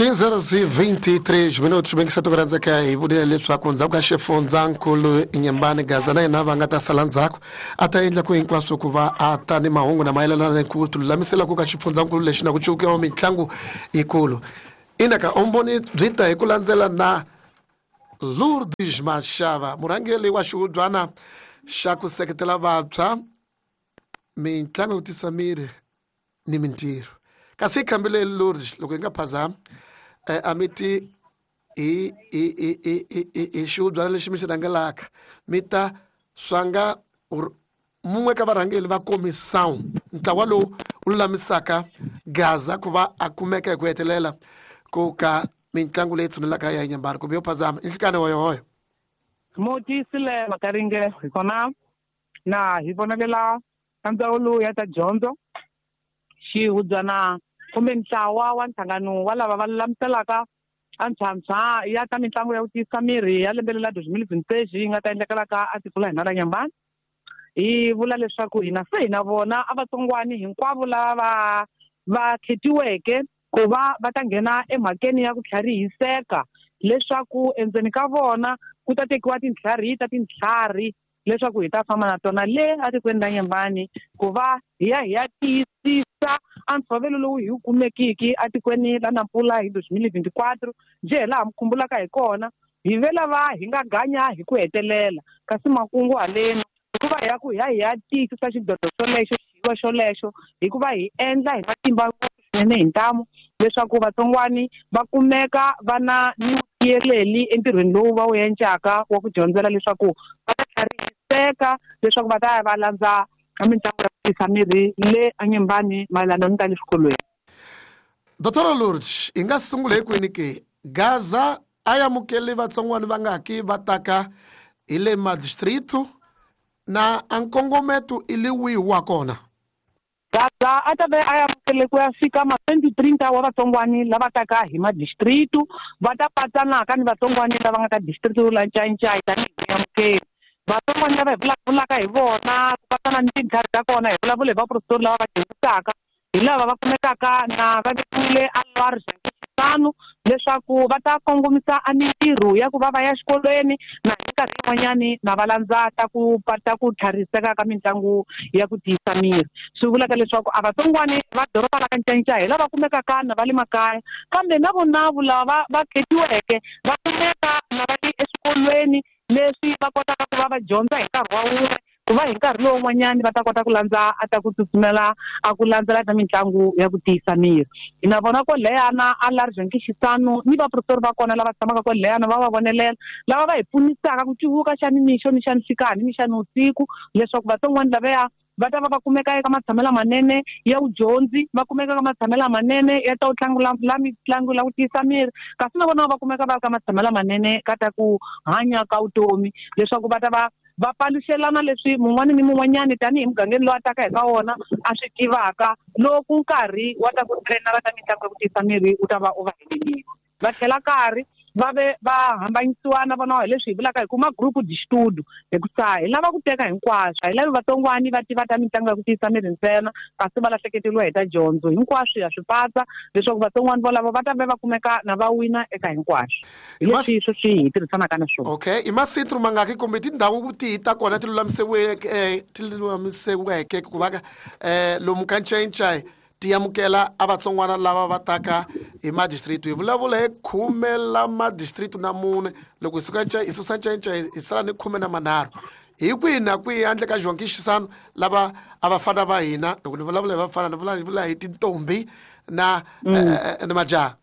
15 horas e 23 minutos. Bem que se rhandzeka hi vurile leswaku ndzhaku ka xifundzankulu Nyembani Gaza na yena va nga ta sala ndzhaku a ta endla ku hinkwaswo ku va a ta ni mahungu na mayelana ni ku tilulamisela ku ka xifundzankulu lexi na ku cukiwa mitlangu yikulu. Ina ka umboni byi ta hi ku landzela na Lourdes Mashava, murhangeri wa xihubyana xa ku seketela vantshwa mitlangu yo tisa miri ni mintirho. Kasi hi khambile Lourdes, loko hi nga phazami, a mi ti hi hi hi hi hi hi hi xihubyana lexi mi xi rhangelaka mi ta swanga mun'we ka varhangeri va komisawu, ntlawa lowu wu lulamisaka Gaza ku va a kumeka hi ku hetelela ku ka mitlangu leyi tshunelaka ya Nyembani kumbe yo phazama i nhlikani hoyohoyo. Mo tiyisile Makaringe, hi kona na hi vonelela ka ndzawulo ya ta dyondzo, xihubyana kumbe ntlawa wa nhlangano wa lava va lulamiselaka a ntshwantshwa ya ta mitlangu ya ku tiyisa miri ya lembe lela 2026 yi nga ta endlekelaka a tiko la hina la Nyembani. Hi vula leswaku hina se hina vona a vatsongwani hinkwavo lava va khetiweke ku va va ta nghena emhakeni ya ku tlharihiseka, leswaku endzeni ka vona ku ta tekiwa tintlhari ta tintlhari leswaku hi ta famba na tona le atikweni ra Nyembani ku va hi ya hi ya tiyisisa a ntshovelo lowu hi wu kumekiki atikweni la Nampula hi 2024. Njhe hi laha mi khumbulaka hi kona, hi ve lava hi nga ganya hi ku hetelela, kasi makungu haleni hikuva hi ya ku hi ya hi ya tiyisisa xidlodlo xolexo, xiyiwa xolexo, hikuva hi endla hi matimba ngopfu swinene hi ntamu leswaku vatsongwani va kumeka va na ni vutiyeleli entirhweni lowu va wu endlaka wa ku dyondzela leswaku va ta tlharihiseka, leswaku va ta ya va landza mitlangu ya ku tiyisa miri le eNyembani mayelana ni ta le swikolweni. Dr. Lourdes, hi nga sungula hi kwini ke? Gaza a amukeli vatsongwani va nga ki va taka hi le madistrito na a nkongometo i le wihi wa kona? Gaza a ta ve a amukele ku ya fika ma 2030 wa vatsongwani lava taka hi madistrito, va ta patsanaka ni vatsongwani lava nga ka distrito la Ncayincai tanihi vuyamukeri. Vatsongwani lava hi vulavulaka hi vona ku patsana ni tintlhari ta kona, hi vulavula hi vaprofesori lava va dyondzisaka, hi lava va kumekaka na va vekiwile a Lwari Xisano leswaku va ta kongomisa a mintirho ya ku va va ya xikolweni na hi minkarhi yin'wanyani na va landza ta ku ta ku tlhariseka ka mitlangu ya ku tiyisa miri. Swi vulaka leswaku a vatsongwani va doroba la ka Ncayincai hi lava kumekaka na va le makaya, kambe na vonavu lava va khetiweke va kumeka na va ri eswikolweni leswi va kotaka ku va va dyondza hi nkarhi wa wun'we, ku va hi nkarhi lowun'wanyani va ta kota ku landza a ta ku tsutsumela a ku landzela ta mitlangu ya ku tiyisa miri. Hi na vona kwaleyana a Large Xisano ni vaprofesori va kona lava tshamaka kwaleyana va va vonelela, lava va hi pfunisaka ku cuvuka xa nimixo ni xa nhlikani ni xa nivusiku, leswaku vatsongwani lavaya va ta va va kumeka eka matshamelo lamanene ya vudyondzi, va kumeka eka matshamelo lamanene ya ta ku tlangula la mitlangu la ku tiyisa miri, kasi na vona va kumeka va ri ka matshamelo lamanene ka ta ku hanya ka vutomi, leswaku va ta va va paluxelana leswi mun'wani ni mun'wanyani tanihi mugangeni lowu a taka hi ka wona a swi tivaka loko nkarhi wa ta ku trainara ta mitlangu ya ku tiyisa miri wu ta va u va helelile. Va tlhela karhi va ve va hambanyisiwa na vona hi leswi hi vulaka hi ku ma group de estudo, hikusa hi lava ku teka hinkwaswo, a hi lavi vatsongwani va tiva ta mitlangu ya ku tiyisa miri ntsena kasi va lahlekeriwa hi ta dyondzo. Hinkwaswo ya swi patsa leswaku vatsongwani volavo va ta ve va kumeka na va wina eka hinkwaswo. Hi leswi sweswi hi tirhisanaka na swona. Okay, i masintru mangaki kumbe tindhawu tihi ta kona ti lulamiseweke ku va lomu ka Ncayincai ti amukela a vatsongwana lava va taka hi madistrito? Hi vulavula hi khume la madistrito na mune, loko hi suka hi susa Ncayincai hi sala ni 13. Hi kwihi na kwihi handle ka Joaquim Chissano lava a vafana va hina? Loko ni vulavula hi vafana, ni vula hi tintombi na ni majaha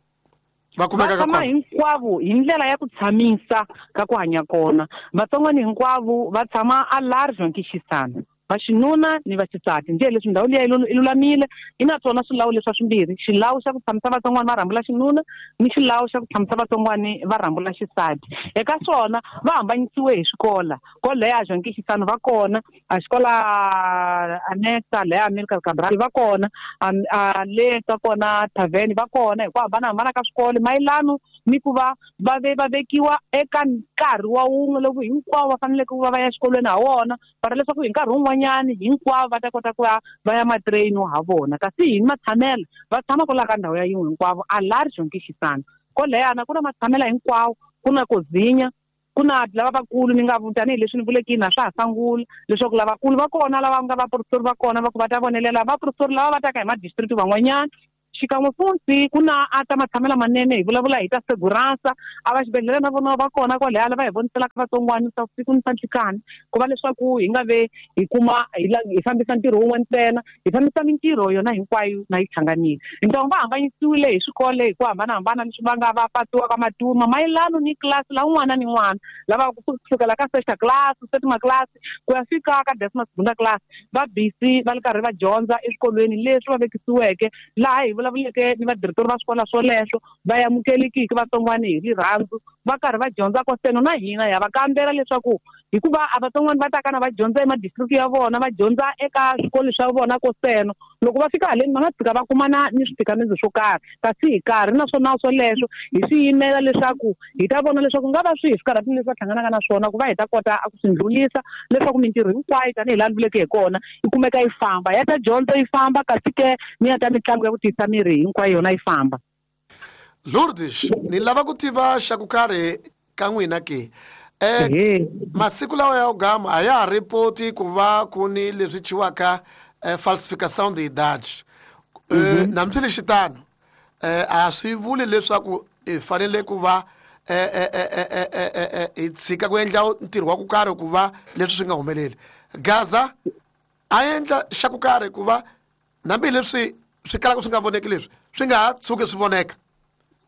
va kumeka ka Va tshama kona. hinkwavo hi ndlela ya ku tshamisa ka ku hanya kona. Vatsongwani hinkwavo va tshama a Large Joaquim Chissano, va xinuna ni va xisati. Njhe leswi ndhawu liya yi lulamile, yi na swona swilawu leswa swimbirhi, xilawu xa ku tshamisa vatsongwani va rhambula xinuna ni xilawu xa ku tshamisa vatsongwani va rhambula xisati. Eka swona va hambanyisiwe hi swikola kwalaya Joaquim Chissano va kona, a xikola Anexa leya Amilcar Cabral va kona, a le ka kona Tavern va kona, hi ku hambanahambana ka swikolo mayelano ni ku va va ve va vekiwa eka nkarhi wa wun'we lowu hinkwavo va faneleke ku va va ya exikolweni ha wona, para leswaku hi nkarhi wun'wanyana van'wanyani hinkwavo va ta kota ku ya va ya matrain ha vona. Kasi hi matshamelo va tshama kwalaho ka ndhawu ya yin'we hinkwavo, a laha ri xonkixisana koleyana ku na matshamela hinkwawo, ku na kozinya, ku na lava vakulu ni nga tanihileswi ni vulekini a swa ha sangula leswaku lavakulu va kona lava nga vaprofesori va kona va ku va ta vonelela vaprofesori lava va taka hi madistrict van'wanyana. Xikan'we futhi ku na a ta matshamelo manene, hi vulavula hi ta segurança, a va xibedhlele na vona va kona kwalaya lava hi voniselaka vatsongwana swa siku ni swa nhlikani, ku va leswaku hi nga ve hi kuma hi fambisa ntirho wun'we ntsena, hi fambisa mintirho yona hinkwayo na yi hlanganile. Hintamu va hambanyisiwile hi swikolo hi ku hambanahambana leswi va nga va patiwa ka maturma mayelano ni class la un'wana ni un'wana, lava kusukela ka sexta class, septima class ku ya fika ka decima segunda class, va busy va ri karhi va dyondza eswikolweni leswi va vekisiweke, laha hi vulavuleke ni vadirektori va swikolo swoleswo va amukelekiki vatsongwana hi rirhandzu, va karhi va dyondza koseno na hina ya va kambela leswaku hikuva a vatsongwana va taka na va dyondza emadistrikti ya vona, va dyondza eka swikolo swa vona koseno, loko va fika haleni va nga tshika va kumana ni switikamezo swo karhi, kasi hi karhi naswona swoleswo hi swi yimela leswaku hi ta vona leswaku nga va swihi swikarhati leswi va hlanganaka na swona ku va hi ta kota ku swi ndlulisa leswaku mintirho hinkwayo tanihi laha ni vuleke hi kona yi kumeka yi famba, ya ta dyondzo yi famba, kasi ke ni ya ta mitlangu ya ku tiyisa miri hinkwayo yona yi famba. Lourdes, ni lava ku tiva xa ku karhi ka n'wina ke. Masiku lawa ya gama a ya ha ripoti ku va ku ni leswi thyiwaka falsification de idade. Hambileswitano, a swi vuli leswaku hi fanele ku va hi tshika ku endla ntirho wa ku karhi ku va leswi swi nga humeleli. Gaza a endla xa ku karhi ku va hambileswi swi kalaka swi nga voneki leswi swi nga ha tshuki swi voneka.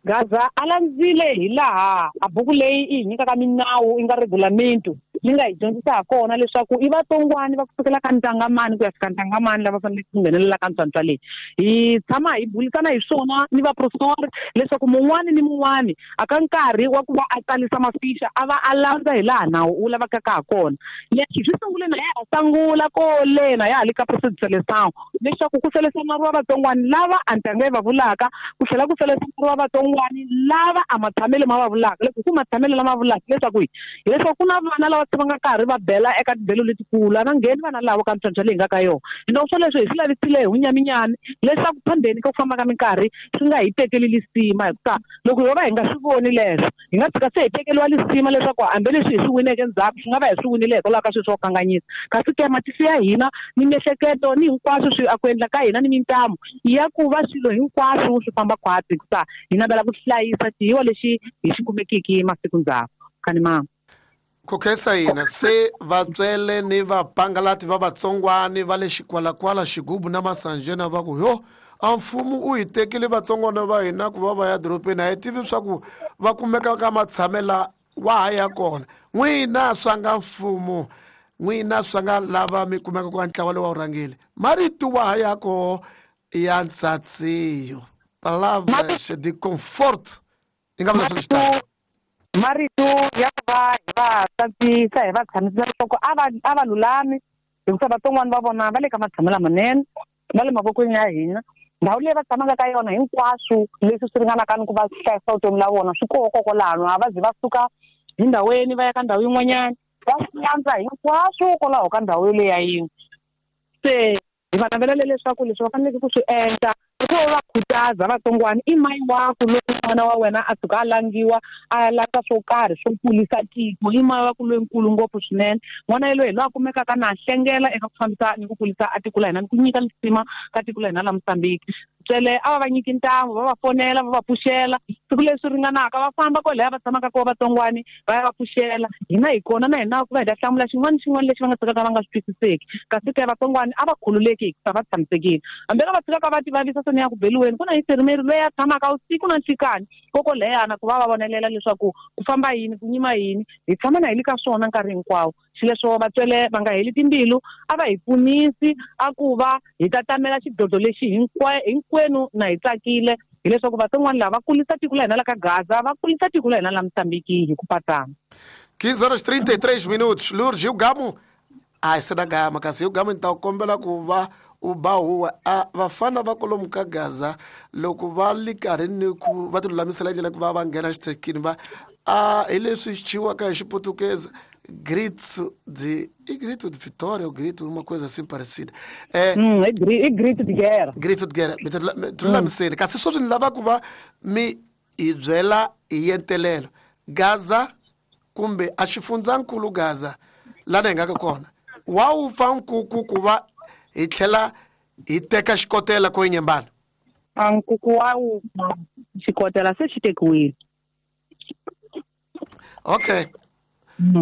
Gaza a landzile hi laha a buku leyi yi hi nyikaka minawu yi nga regulamento yi nga hi dyondzisa ha kona leswaku i vatsongwana va kusukela ka ntangamani ku ya fika ntangamani lava faneleke ku nghenelela ka ntswantswa leyi. Hi tshama hi bulisana hi swona ni vaprofesori leswaku mun'wani ni mun'wani a ka nkarhi wa ku va a tsalisa mafixa a va a landza hi laha nawu wu lavekaka ha kona. Leswi swi sungule na ya ha sangula kole na ya ha le ka process leswaku ku selesanariwa vatsongwana lava a ntanga yi va vulaka, ku tlhela ku selesanariwa vatsongwana lava a matshamelo ma va vulaka. Loko ku matshamelo lama vulaka leswaku hileswaku ku na vana lava va nga karhi va bela eka tibelo letikulu, a va ngheni vana lava ka ntswantswa leyi nga ka yona. Hina swoleswo hi swi lavisile hi vunyaminyami leswaku phambeni ka ku famba ka minkarhi swi nga hi tekeli lisima, hikuva loko ho va hi nga swi voni leswo hi nga tshika se hi tekeriwa lisima leswaku hambileswi hi swi wineke ndzhaku swi nga va hi swi winile hikwalaho ka swilo swo kanganyisa. Kasi ke matihlo ya hina ni miehleketo ni hinkwaswo swi a ku endla ka hina ni mintamu ya ku va swilo hinkwaswo swi famba khwatsi, hikuva hi navela ku hlayisa xiyiwa lexi hi xi kumekiki masiku ndzhaku. Kani mama ku khensa hina se vatswele ni vapangalati va vatsongwani va le xikwalakwala xigubu na masanjena va ku yo a mfumo u hi tekile vatsongwana va hina ku va va ya dorobeni, a hi tivi swa ku va kumeka ka matshamela wa ha ya kona. N'wina swa nga mfumo, n'wina swa nga lava mi kumeka ka ntlawa lowu wa vurhangeri, marito wa ha ya koho ya ntsatsiyo, palavras de conforto, yi nga vula swilo swi tano. Marito ya ku va hi va tsandzisa hi va tshamisa leswaku a va lulami, hikuva vatsongwana va vona va le ka matshamelo lamanene, va le mavokweni ya hina. Ndhawu leyi va tshamaka ka yona hinkwaswo leswi swi ringanaka ni ku va hlayisa vutomi la vona swi koho kokwalano, a va zi va suka hi ndhawini va ya ka ndhawu yin'wanyana, va swi landza hinkwaswo kwalaho ka ndhawu yoleyo ya yin'we. Se hi va navelela leswaku leswi va faneleke ku swi endla i ku va va khutaza vatsongwana, i mayi wa ku loko n'wana wa wena a tshuka a langiwa a ya landza swo karhi swo kulisa tiko, i mayi wa ku loyinkulu ngopfu swinene. N'wana yelweyo hi loyi a kumekaka na hlengela eka ku fambisa ni ku kulisa a tiko la hina ni ku nyika lisima ka tiko la hina la Mozambique. Tswele a va va nyiki ntamu, va va fonela, va va pfuxela siku leswi ringanaka, va famba kwalaya va tshamaka kona vatsongwani va ya va pfuxela. Hina hi kona na hina ku va hi ta hlamula xin'wana ni xin'wana lexi va nga tshikaka va nga swi twisiseki. Kasi ke vatsongwani a va khululeki hikuva va tshamisekile, hambi ka va tshikaka va ti vavisa seni ya ku beliweni, ku na infermieri loyi a tshamaka usiku na nhlikani kokoleyana ku va va vonelela leswaku ku famba yini, ku nyima yini. Hi tshama na hi le ka swona nkarhi hinkwawo. Xileswo vatswele va nga heli timbilu, a va hi pfunisi a ku va hi ta tamela xidlodlo lexi hinkwenu na hi tsakile, hileswaku vatsongwana lava va kulisa tiko la hina la ka Gaza, va kulisa tiko la hina la Mozambique hi ku patsana. 15 horas 33 minutos. Lourdes, o Gamo. Ai, se da Gama, kasi o Gamo então kombela ku va u ba huwa. A vafana va kwalomu ka Gaza loko va li karhi ni ku va ti lulamisela ndlela ku va va nghena xithekini va a hi leswi xi thyiwaka hi xiputukezi Grito de. E grito de vitória ou grito, uma coisa assim parecida. É, I grito de guerra. Grito de guerra. Mi lulamiseni. Kasi sweswi ni lava ku va mi hi byela hi yentelelo. Gaza kumbe a xifundzankulu Gaza lana hi nga ka kona. Wa wu pfa nkuku ku va hi tlhela hi teka xikotela ko Nyembani? A nkuku wa wu xikotela se xi tekiwile. Okay.